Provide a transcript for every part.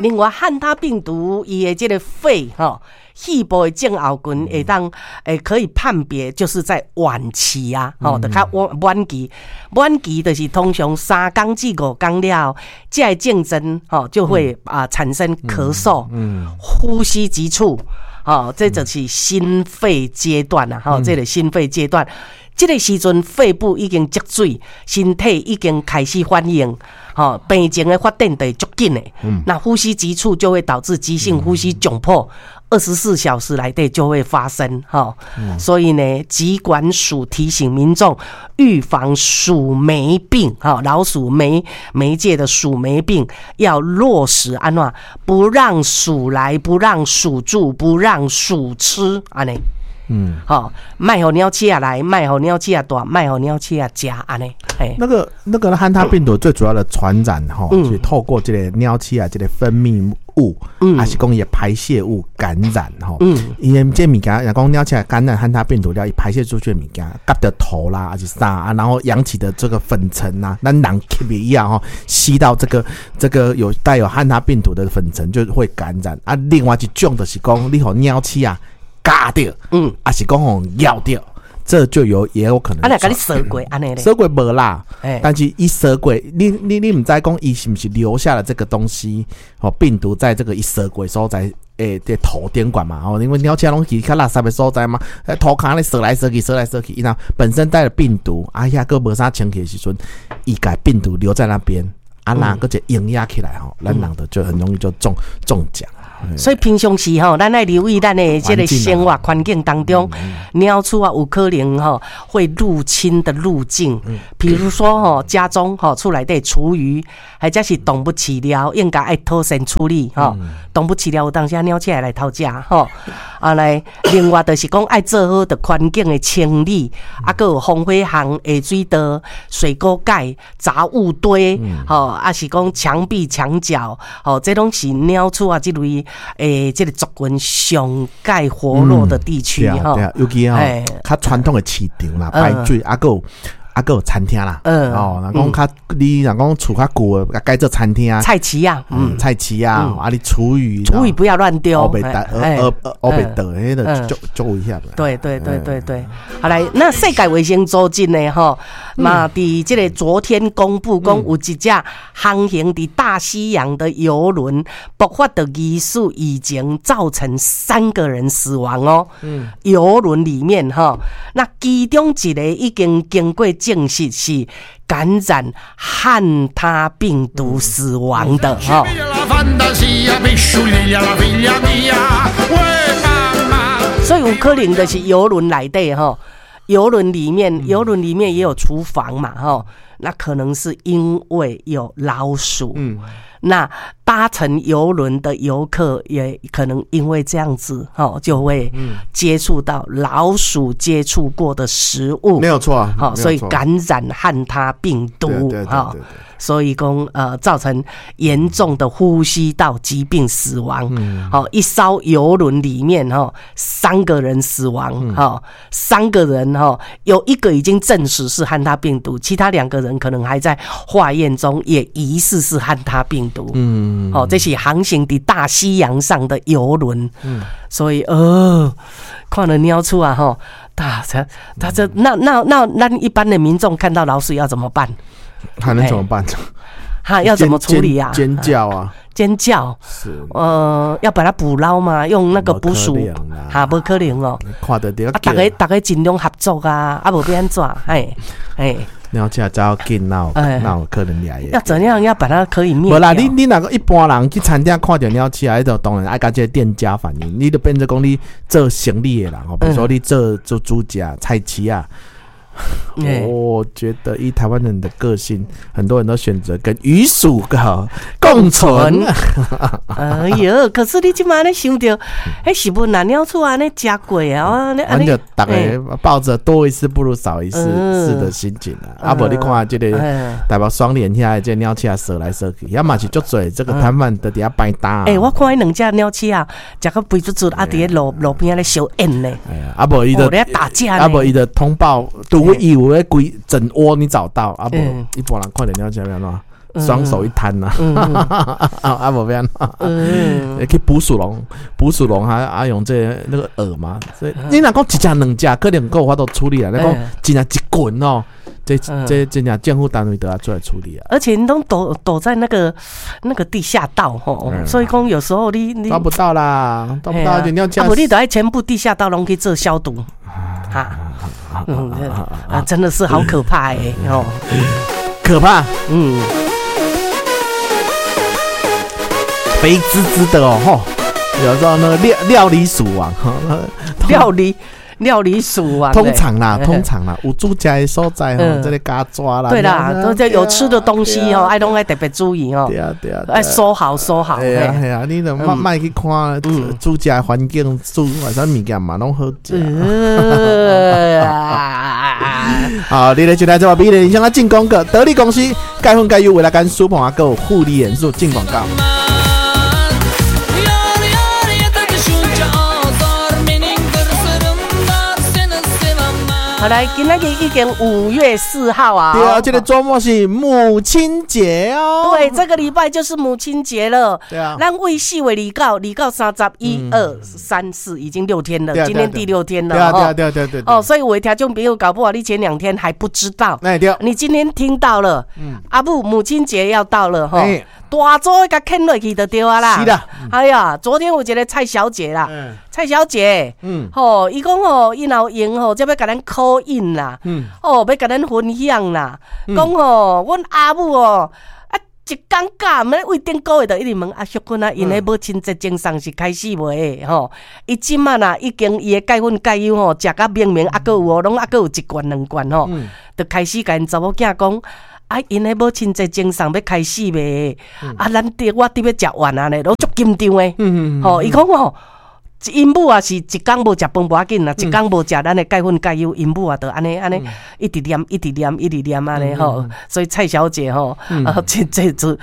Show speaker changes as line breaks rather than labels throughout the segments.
另外，漢他病毒伊的這个肺吼，肺部的症候群會當可以判別，就是在晚期啊，吼，就較晚晚期，晚期就是通常3工至5工了後，這个症狀吼就會啊產生咳嗽、呼吸急促，吼，這就是心肺階段啊，吼，這个心肺階段。這个時陣肺部已經積水，身體已經開始反應，吼，病情的發展就會足緊的。那呼吸急促就會導致急性呼吸窘迫，24小時內底就會發生，吼。所以呢，疾管署提醒民眾預防鼠霉病，吼，老鼠媒媒介的鼠霉病要落實按怎，不讓鼠來，不讓鼠住，不讓鼠吃，按呢。吼，莫予貓鼠仔來，莫予貓鼠仔蹛，莫予貓鼠仔食，按呢。
那个漢他病毒最主要的傳染吼，是透過這个貓鼠仔這个分泌物，還是講伊的排泄物感染吼。因為這物件，若講貓鼠仔感染漢他病毒了，伊排泄出去的物件，夾著塗啦，還是啥啊，然後揚起的這個粉塵啊，咱人吸一樣吼，吸到這個有帶有漢他病毒的粉塵就會感染。啊，另外一種就是講，你予貓鼠仔咬著，還是講予咬著，這就有也有可能。
啊，若共你踅過按呢咧，
踅過無啦，但是伊踅過，你毋知講伊是毋是留下了這個東西，哦，病毒在這個伊踅過所在，佇塗頂懸嘛，吼，因為貓鼠攏去較垃圾的所在嘛，塗跤咧踅來踅去，踅來踅去，伊若本身帶了病毒，啊，遐閣無啥清氣的時陣，伊共病毒留在那邊，啊，若閣一個營養起來吼，咱人就很容易就中獎。
所以平常時吼，咱愛留意咱的這个生活環境當中，貓鼠仔有可能吼會入侵的路徑，比如說吼家中吼厝內底廚餘，或者是動物飼料，應該愛妥善處理吼。動物飼料有當時貓鼠會來偷食吼。啊來，另外就是講愛做好著環境的清理，啊，閣有防火巷、下水道、水溝蓋、雜物堆，吼，啊是講牆壁牆角，吼，這攏是貓鼠仔這類這个族群上蓋活絡的地區吼。
對啊，尤其吼，較傳統的市場啦，排水啊，閣有餐廳啦，哦，若講較你若講厝較舊的，改做餐廳啊，
菜市仔，
菜市仔，啊，你廚餘，
廚餘不要亂丟，
烏白倒，烏白倒，彼个足足危險。
對對對對對，好來，那世界衛生組織呢？吼，嘛，佇這个昨天公布講，有一隻航行佇大西洋的郵輪爆發的疑似疫情，造成三個人死亡哦。郵輪裡面吼，那其中一个已經經過證實是感染漢他病毒死亡的哈。所以有可能就是郵輪內底吼，郵輪裡面也有廚房嘛吼，那可能是因為有老鼠。那搭乘郵輪的遊客也可能因為這樣子，吼，就會接觸到老鼠接觸過的食物，
沒有錯，
好，所以感染漢他病毒，哈，所以講造成嚴重的呼吸道疾病死亡。好，一艘郵輪裡面，哈，三個人死亡，哈，三個人，哈，有一個已經證實是漢他病毒，其他兩個人可能還在化驗中，也疑似是漢他病毒。哦，這是航行佇大西洋上的郵輪，所以看了貓鼠啊，吼，他這那一般的民眾看到老鼠要怎麼辦？
還能怎麼辦？
哈，要怎麼處理啊？
尖叫啊！
尖叫
是
要把它捕撈嗎？用那個捕鼠？哈，無可能哦。
看著著，
啊，逐家逐家盡量合作啊，啊，無欲按怎？嘿，嘿。
貓鼠走緊，哪有可能掠？
要怎樣？要把它可以滅？
無啦，你若個一般人去餐廳看著貓鼠，彼就當然愛共這个店家反映，你就變做講你做生意的人吼，比如說你做煮食菜市仔。我覺得以台灣人的個性，很多人都選擇跟魚鼠共存。
哎喲，可是你這馬咧想著，彼食物若貓鼠按呢食過啊，
阮就逐家抱著多一事不如少一事的心情啊。啊無你看這个台北雙連遐的這貓鼠仔踅來踅去，遐嘛是足濟這個攤販佇遐擺檔。
欸，我看彼兩隻貓鼠仔，食甲肥嘟嘟，啊，佇咧路邊仔咧相演呢。
啊無伊就
打架，
啊無伊就通報，除非伊有咧規整窩你找到，啊無一般人看著貓鼠仔欲按怎？雙手一攤呐，啊無欲按怎，去捕鼠籠，捕鼠籠還啊用這個那個餌嘛，所以你若講一隻兩隻，可能閣有法度處理啊。你講真正一群哦，這這真正政府單位都要出來處理啊。
而且你都躲躲在那個地下道吼，所以講有時候你
抓不到啦，抓不到，你要
啊，無你都愛全部地下道攏去做消毒，哈，啊，真的是好可怕欸，哦，
可怕，肥滋滋的哦，吼，有時候那個料理鼠王，
料理鼠王，
通常啦，有煮食的所在吼，這個加抓啦，
對啦，都這有吃的東西哦，愛攏愛特別注意哦，
對啊對啊，
愛收好收好，
係啊係啊，你就莫莫去看煮食的環境，煮啥物件嘛攏好食。好，你來就來這把美麗人生啊進廣告，得力公司鈣粉鈣油維他乾舒鵬啊，閣有護理元素進廣告。
好來，今仔日已經5月4號啊！
對啊，這個週末是母親節哦。
對，這個禮拜就是母親節了。
對啊。
咱為4月29、29、30、1、2、3、4，已經6天了。今天第6天了。
對啊，對啊，對對對。
哦，所以有的聽眾朋友搞不好你前2天還不知道。
哎對。
你今天聽到了，阿母母親節要到了哈。大早共牽落去就對啊啦。
是啦。
哎呀，昨天有一個蔡小姐啦，蔡小姐，吼，伊講吼，伊若有閒吼，才欲共咱 call in 啦，哦，欲共咱分享啦，講吼，阮阿母哦，啊，一工假，毋為頂個月就一直問阿淑君啊，𪜶的母親節贈送是開始未？吼，伊這擺啦，已經伊的鈣粉鈣油吼，食甲明明，猶閣有哦，攏猶閣有1罐2罐吼，就開始共𪜶查某囝講。啊！𪜶的母親節贈送欲開始未？啊，咱佇我佇欲食完啊咧，攏足緊張的。吼，伊講吼，𪜶母也是一工無食飯無要緊啦，一工無食咱的鈣粉鈣油，𪜶母也就按呢按呢，一直念一直念一直念按呢吼。所以蔡小姐吼，啊，這這自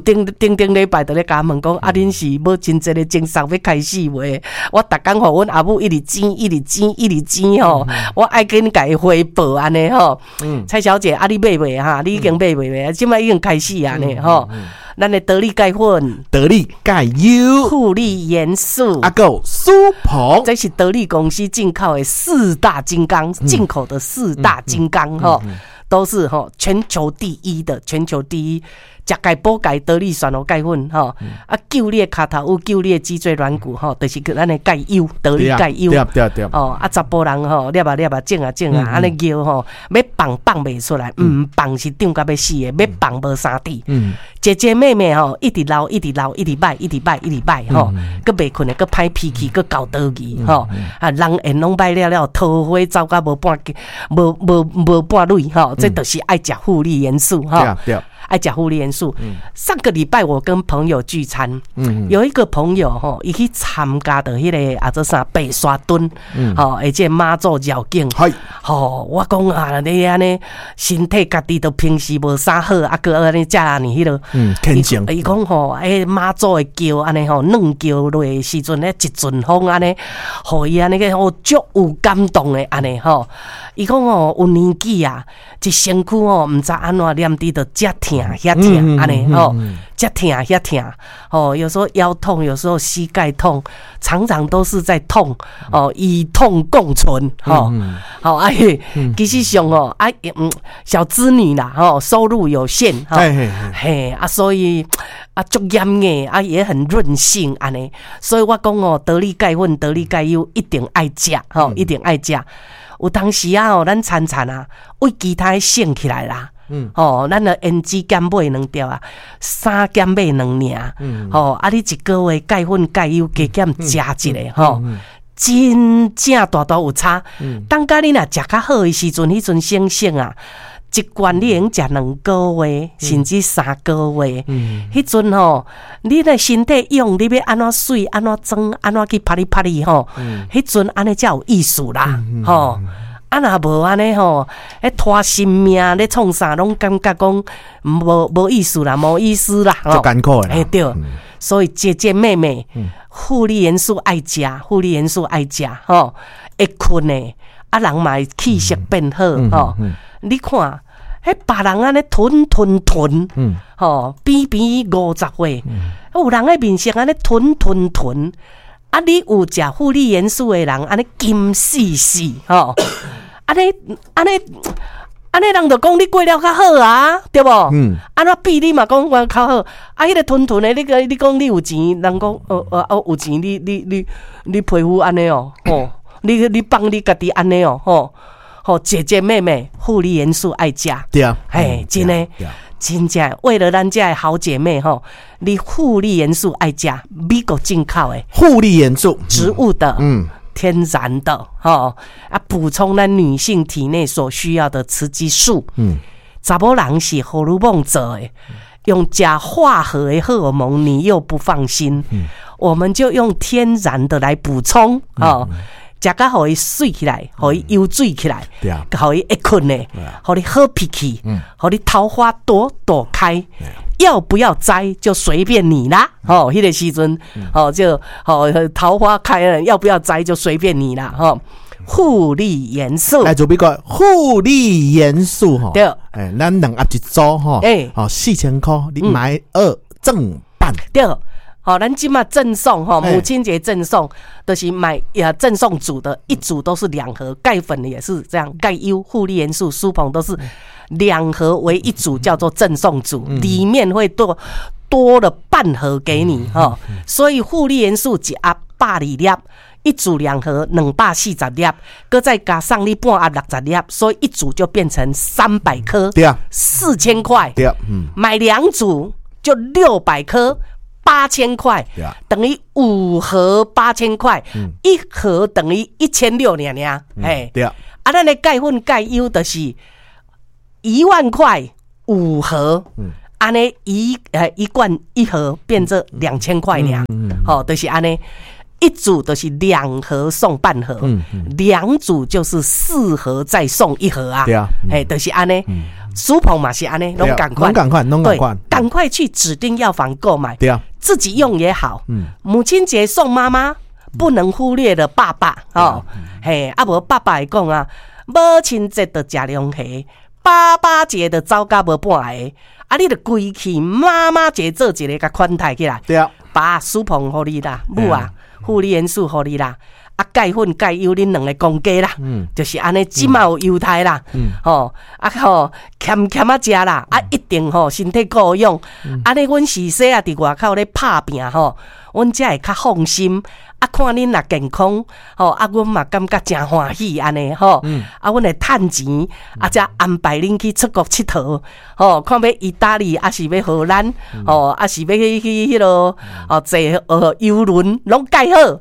頂頂頂禮拜就咧共問講，啊，恁是母親節的贈送欲開始未？我逐工予阮阿母一直煎一直煎一直煎吼，我愛緊共伊回報按呢吼。蔡小姐，啊，你買未哈？你已經買未未？這擺已經開始啊呢吼。咱的得力鈣粉、
得力鈣油、
護理元素，
啊，閣有舒鵬，
這是得力公司進口的四大金剛，進口的四大金剛吼，都是吼全球第一的，全球第一。食鈣補鈣得力蒜頭鈣粉吼，啊救你的跤頭有救你的脊椎軟骨吼，就是咱的鈣油得力鈣油。
對對對。
哦，啊查埔人吼，粒啊粒啊種啊種啊，按呢尿吼，欲放放袂出來，毋放是脹甲欲死的，欲放無三滴。姐姐妹妹吼，一直老一直老，一直歹一直歹一直歹吼，閣袂睏的，閣歹脾氣，閣厚道義吼，啊人緣攏歹了了，桃花走甲無半無無無半蕊吼，這就是愛食護理元素吼。
對。
愛食護理元素。上個禮拜我跟朋友聚餐，有一個朋友吼，伊去參加著彼個啊做啥白沙墩，吼，而且媽祖繞境，吼，我講啊，你按呢身體家己都平時無啥好，啊，閣按呢遮爾彼落，伊講吼，欸媽祖的轎按呢吼，軟轎落的時陣咧，一陣風按呢，予伊按呢個吼足有感動的按呢吼。伊講吼有年紀啊，一身軀吼毋知按怎念佇著遮疼遐疼按呢吼，遮疼遐疼吼，有時候腰痛，有時候膝蓋痛，常常都是在痛哦，與痛共存吼。好哎，其實上哦啊，小資女啦吼，收入有限吼，嘿啊，所以啊足嚴的啊，也很任性按呢。所以我講哦，得力鈣粉、得力鈣油一定愛食吼，一定愛食。有當時啊吼，咱餐餐啊，為其他省起來啦。吼，咱的胭脂減買兩條啊，衫減買兩領。吼，啊，你一個月鈣粉鈣油加減食一个吼，真正大大有差。當甲你若食較好的時陣，彼陣省省啊，一罐你會用食2個月，甚至3個月。彼陣吼，你的身體用，你欲按怎媠，按怎裝，按怎去拍哩拍哩吼，彼陣按呢才有意思啦，吼。啊，若無按呢吼，彼拖生命咧創啥，攏感覺講無意思啦，無意思啦，
足艱苦的。
嘿對，所以姐姐妹妹，護理元素愛食，護理元素愛食，吼，會睏的，啊人嘛會氣色變好，吼。你看，彼別人按呢吞吞吞，吼，比比50歲，有人的面色按呢吞吞吞，啊，你有食護理元素的人，按呢金絲絲，吼，按呢按呢按呢，人就講你過了較好啊，對無？按怎比你嘛講我較好，啊，彼個吞吞的，你講你講你有錢，人講哦有錢，你你你你皮膚按呢哦，吼，你你放你家己按呢哦，吼。吼，姐姐妹妹，護理元素愛食，
對啊，
嘿，真的，真正為了咱遮的好姐妹吼，你護理元素愛食，美國進口的
護理元素，
植物的，天然的，吼啊，補充咱女性體內所需要的雌激素。查某人是荷爾蒙做的，用食化合的荷爾蒙，你又不放心，我們就用天然的來補充，哦。食甲予伊媠起來，予伊油水起來，予伊會睏的，予你好脾氣，予你桃花朵朵開。要不要摘就隨便你啦。吼，彼個時陣，吼就吼桃花開了，要不要摘就隨便你啦。吼，護理元素
來做比個護理元素吼。
對，
欸，咱兩盒一組吼，欸，吼4000塊，你買二贈半。
對。好，咱這馬贈送吼，母親節贈送，就是買也贈送組的，一組都是兩盒，鈣粉也是這樣，鈣優護理元素、舒鵬都是兩盒為一組，叫做贈送組，裡面會多多了半盒給你哈。所以護理元素一盒120粒，一組兩盒240粒，閣再加上你半盒60粒，所以一組就變成300顆，
對啊，
4000塊，
對啊，
買兩組就600顆。8000塊，等於五盒8000塊，一盒等於1600爾爾，嘿，
對啊，
啊，咱的鈣粉鈣優就是1萬塊五盒，按呢一罐一盒變做2000塊爾，吼，就是按呢，一組就是兩盒送半盒，兩組就是四盒再送一盒啊，
對啊，
嘿，就是按呢。舒鵬嘛是按呢，攏仝款，
攏仝款，攏仝款，
趕快去指定藥房購買，
對啊，
自己用也好。母親節送媽媽，不能忽略了爸爸哦。嘿，啊無爸爸會講啊，母親節就食龍蝦，爸爸節就走甲無半个，啊，你就規氣媽媽節做一个共款待起來。
對啊，
爸舒鵬予你啦，母啊，護理元素予你啦。啊，鈣粉鈣優恁兩個公家啦，就是按呢，這馬有優待啦，吼啊吼，俭俭仔食啦，啊一定吼身體顧養，按呢阮是說啊，佇外口咧拍拚吼，阮才會較放心。啊，看恁若健康，吼啊，阮嘛感覺誠歡喜按呢吼，啊，阮會趁錢，啊，才安排恁去出國𨑨迌，吼，看欲意大利，抑是欲荷蘭，吼，抑是欲去去彼落，哦，坐郵輪攏蓋好，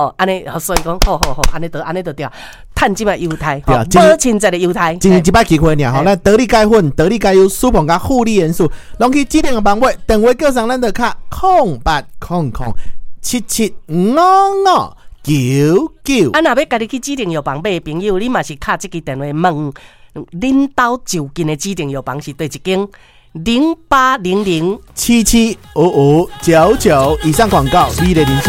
吼，按呢，所以講，好好好，按呢就按呢就對，趁這馬優待，母親節的優待，
一年一擺機會爾吼，咱得力鈣粉、得力鈣優、舒鵬佮護理元素，攏去指定的房買，電話叫上咱就敲0800775599。
啊，若欲家己去指定藥房買的朋友，你嘛是敲這支電話問恁兜就近的指定藥房是佗一間？0800
775599。以上廣告，你的零食。